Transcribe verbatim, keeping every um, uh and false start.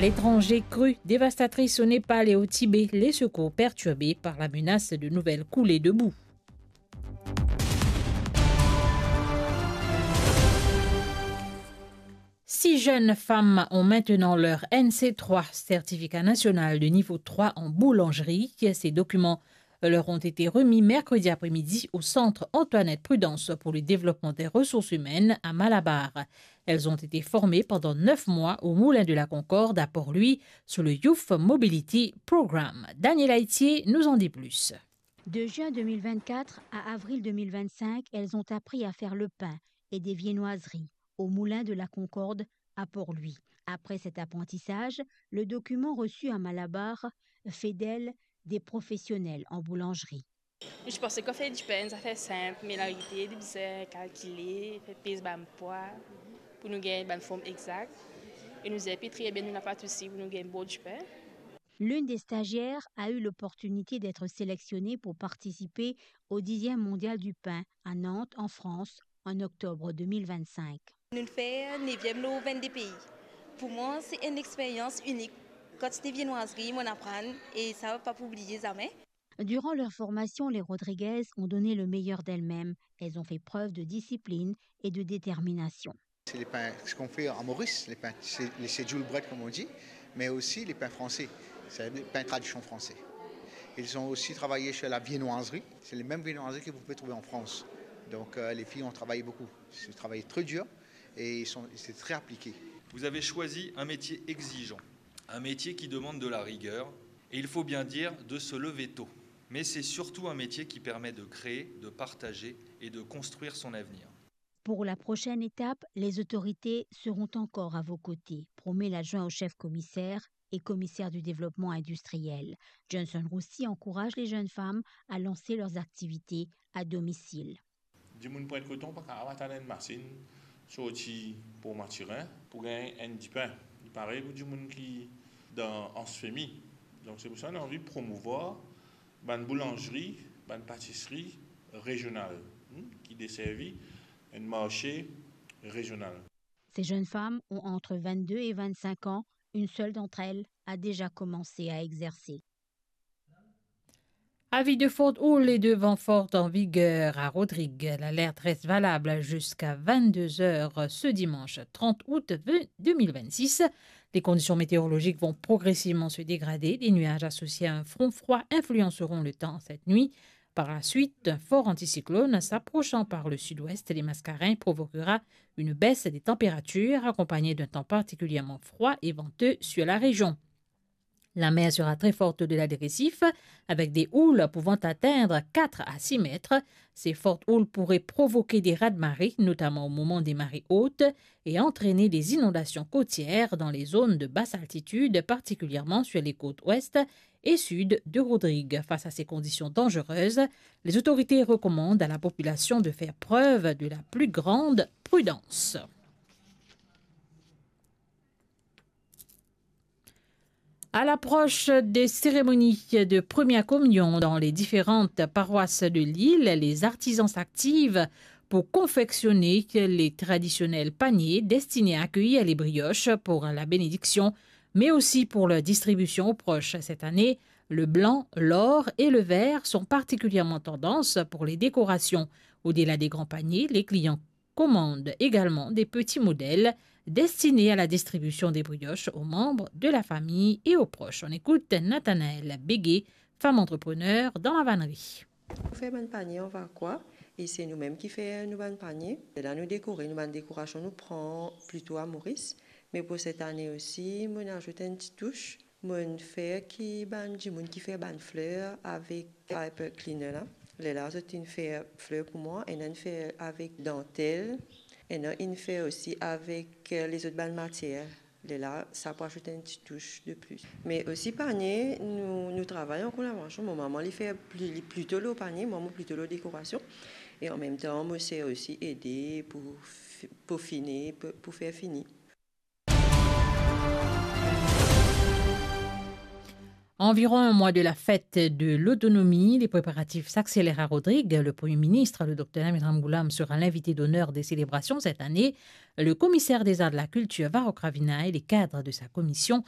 L'étranger crue dévastatrice au Népal et au Tibet, les secours perturbés par la menace de nouvelles coulées de boue. Six jeunes femmes ont maintenant leur N C trois, certificat national de niveau trois en boulangerie. Ces documents leur ont été remis mercredi après-midi au centre Antoinette Prudence pour le développement des ressources humaines à Malabar. Elles ont été formées pendant neuf mois au Moulin de la Concorde à Port-Louis sous le Youth Mobility Programme. Daniel Aitier nous en dit plus. De juin deux mille vingt-quatre à avril deux mille vingt-cinq, elles ont appris à faire le pain et des viennoiseries au Moulin de la Concorde à Port-Louis. Après cet apprentissage, le document reçu à Malabar fait d'elles des professionnelles en boulangerie. Mo ti panse ki fer dipin, zafer sinp, me larite, li bizin kalkile, fer pez bann pwa pou nou gagn bann form exakt. E nou zep li tre bien, nou napa de sousi pou nou gagn bon dipin. L'une des stagiaires a eu l'opportunité d'être sélectionnée pour participer au dixième mondial du pain à Nantes, en France, en octobre deux mille vingt-cinq. Nou fer neviem lor vennde pei. Pou mwa, se enn experyans inik. Kantite viennoiserie mo'nn aprann, e sa pa pou oubliye zame. Durant leur formation, les Rodriguaises ont donné le meilleur d'elles-mêmes. Elles ont fait preuve de discipline et de détermination. C'est les pains, ce qu'on fait à Maurice, les pains, c'est les schedule bread comme on dit, mais aussi les pains français, c'est les pains tradition français. Ils ont aussi travaillé sur la viennoiserie, c'est les mêmes viennoiseries que vous pouvez trouver en France. Donc euh, les filles ont travaillé beaucoup, ils ont travaillé très dur et ils sont, c'est très appliqué. Vous avez choisi un métier exigeant, un métier qui demande de la rigueur et, il faut bien dire, de se lever tôt. Mais c'est surtout un métier qui permet de créer, de partager et de construire son avenir. Pour la prochaine étape, les autorités seront encore à vos côtés, promet l'adjoint au chef commissaire et commissaire du développement industriel. Johnson Roussy encourage les jeunes femmes à lancer leurs activités à domicile. Dimoun pwint koton pa kapav atann enn masinn sorti Port Mathurin pou gagn enn dipin. Li parey pou dimoun ki dan Anse Femi. Donk se pou sa nou anvi promouvwar bann boulanzri, bann patisri rezional, hmm, ki deservi enn marse rezional. Ces jeunes femmes ont entre vingt-deux et vingt-cinq ans. Une seule d'entre elles a déjà commencé à exercer. Avis de forte houle et de vent fort en vigueur à Rodrigues. L'alerte reste valable jusqu'à vingt-deux heures ce dimanche trente août deux mille vingt-six. Les conditions météorologiques vont progressivement se dégrader. Des nuages associés à un front froid influenceront le temps cette nuit. Par la suite, un fort anticyclone s'approchant par le sud-ouest des Mascareignes provoquera une baisse des températures accompagnée d'un temps particulièrement froid et venteux sur la région. La mer sera très forte au-delà des récifs, avec des houles pouvant atteindre quatre à six mètres. Ces fortes houles pourraient provoquer des raz-de-marée, notamment au moment des marées hautes, et entraîner des inondations côtières dans les zones de basse altitude, particulièrement sur les côtes ouest et sud de Rodrigues. Face à ces conditions dangereuses, les autorités recommandent à la population de faire preuve de la plus grande prudence. À l'approche des cérémonies de première communion dans les différentes paroisses de l'île, les artisans s'activent pour confectionner les traditionnels paniers destinés à accueillir les brioches pour la bénédiction, mais aussi pour leur distribution aux proches. Cette année, le blanc, l'or et le vert sont particulièrement tendance pour les décorations. Au-delà des grands paniers, les clients commandent également des petits modèles destinés à la distribution des brioches aux membres de la famille et aux proches. On écoute Nathanaël Béguet, femme entrepreneur dans la vannerie. Nou fer bann panie an vakwa, e se nou mem ki fer nou bann panie. Lerla nou dekore, nou bann dekorasion nou pran plito a Moris, me pou set ane osi, mo'nn azout enn ti tous. Mo'nn fer ki bann dimoun ki fer bann fler avek paper cleaner la. Lerla zot inn fer fler pou mwa, ena inn fer avek dantel, ena inn fer osi avek, eh, lezot bann matier. Lerla sa pou azout enn ti tous de plis. Me osi panie, nou, nou travay an kolaborasion. Mo mama li fer pli, li plito lor panie, mwa mo plito lor dekorasion. E an mem tan mo ser osi ede pou fi-, pofine, pou, pou fer fini. Environ un mois de la fête de l'autonomie, les préparatifs s'accélèrent à Rodrigues. Le Premier ministre, le docteur Lamine Ramgoolam, sera l'invité d'honneur des célébrations cette année. Le commissaire d'État à la culture, Varrock Ravina, et les cadres de sa commission